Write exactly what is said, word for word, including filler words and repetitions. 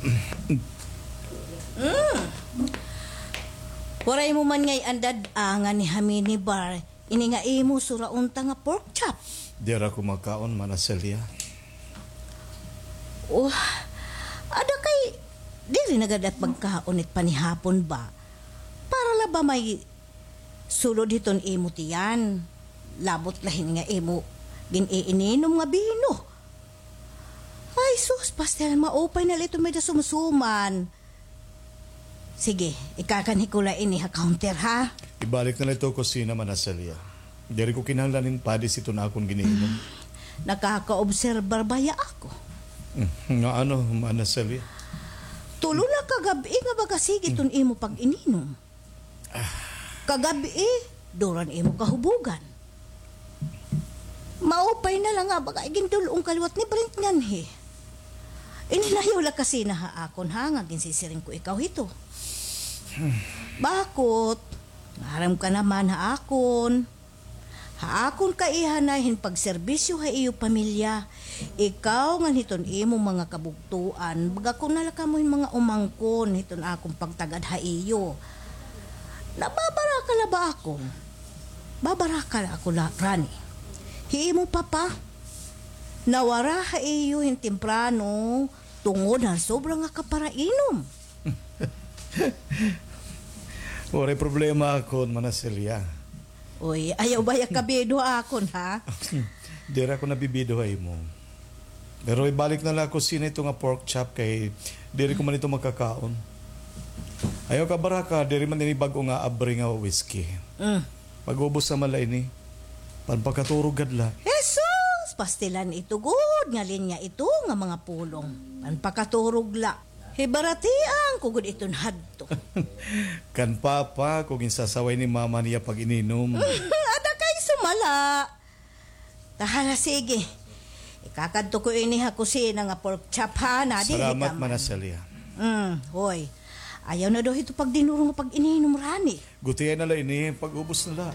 Mm. Waray mo man ngay-an dad-a nga nihaminibar ini nga imo sura unta nga pork chop. Diri ako makaon, Mana Celia. Oh, ada kay diri na gad pagkaon it panihapon ba? Para la ba may sulod hiton imo tiyan. Labot la hini nga imo gin-iininom nga bino. Ay, sus, pastel, maupay na la ito may dasumsuman. Sige, ikakanhi ko la ini ha counter, ha? Ibalik na la ito kusina, Mana Celia. Diri ko kinahanglan hin padis iton akon giniinom. Nakakaobserbar baya ako. Mm, nga ano, Mana Celia? Tulo na ka gab-i nga baga sige iton imo pag-ininom. Kagab-i, duro an imo kahubugan. Maupay na la nga baga igindul-ong ka liwat ni Brent nganhi. Ininayaw la kasi na ha akon, ha, nga ginsisiring ko ikaw hito. Bakot? Maaram ka naman ha akon. Ha akon kaihanay hin pagserbisyo ha iyo pamilya, ikaw ngan hiton imo mga kabugtoan, baga ko na la kamo hin mga umangkon hiton akon pagtagad ha iyo. Nababaraka la ba ako? Babaraka la ako la, Rani. Hi imo papa, nawara ha iyo hin temprano tungod han sobra nga kaparainom. Waray problema akon, Mana Celia. Uy, ayaw baya kabido ha akon, ha? Diri ako nabibido ha imo. Pero ibalik na la ha kusina ito nga pork chop kay diri ko man ito makakaon. Ayaw kabaraka, diri man ini bag-o nga abri nga whisky. Mm. Pag-ubos naman la ini. Panpakaturog gad la. Jesus! Pastilan ito gud nga linya ito nga mga pulong. Panpakaturog la. Hibaratian ko gud iton hadto. Kan papa ko ginsasaway ni mama niya pag-ininom. Ada kay sumala. Tahala, sige. Ikakadto ko ini ha kusina nga pork chop, ha, na dili ka man. Salamat, Mana Celia. Mm, hoy. Ayaw na daw hito pagdinuro nga pag-ininom, Rani. Gutiay na la ini, pag-ubos na la.